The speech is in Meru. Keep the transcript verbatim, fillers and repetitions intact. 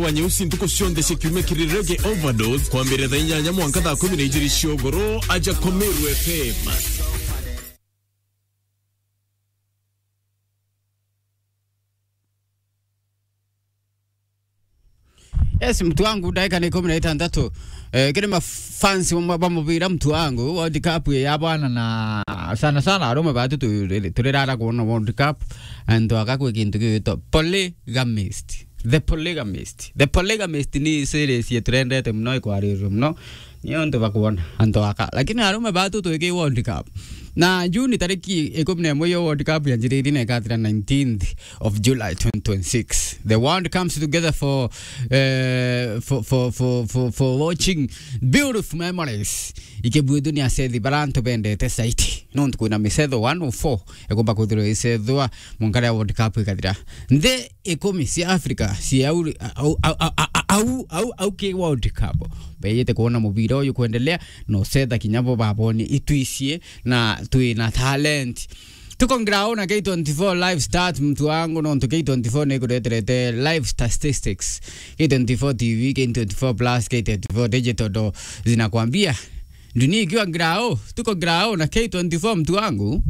wa Nyeusi ntuku cionthe cia kiumia kiri Reggae Overdose, kwambiriria thaa inyanya mwanka thaa kumi na ijiri cia ugoro, aja kwa Meru F M. Yes, mtu wangu, dakika ni kumi na itantatu. Eh, kiri mafans ba, ba mubira, mtu wangu, World Cup ya bwana, na sana sana arume batu tu-, turirara kuona World Cup, antu aka kwi kintu gigwitwa polygamist. The Polygamist. The Polygamist ni series yeturendete muno, ikwarirwe muno. Ni untu bakwona antu aka. Lakini arume batu twiki World Cup. Na June tariki ikumi na imwe yo World Cup yanjiririe na ikathira nineteenth of July twenty twenty-six. The world comes together for, eh, for, for, for, for, for watching beautiful memories. Ikibuithuni asethi bara antu bendete saiti. Nontu kwina misetho one oh four ikumba kwithirwa isethwa munkare ya World Cup ikathira. Nthi ikumi cia Africa cia au, au, au, au, au, au, au ki World Cup. Beyete kuona mubira uyu kwendelea, na usetha kinya bo baboni itwicie na twina talent. Tuko ngrao na K twenty-four live start, mtu wangu, nontu K twenty-four ni kureterete live statistics. K twenty-four T V, K twenty-four plus, K twenty-four digital do zinakwambia dunia ikiwa ngrao. Tuko ngrao na K twenty-four, mtu wangu.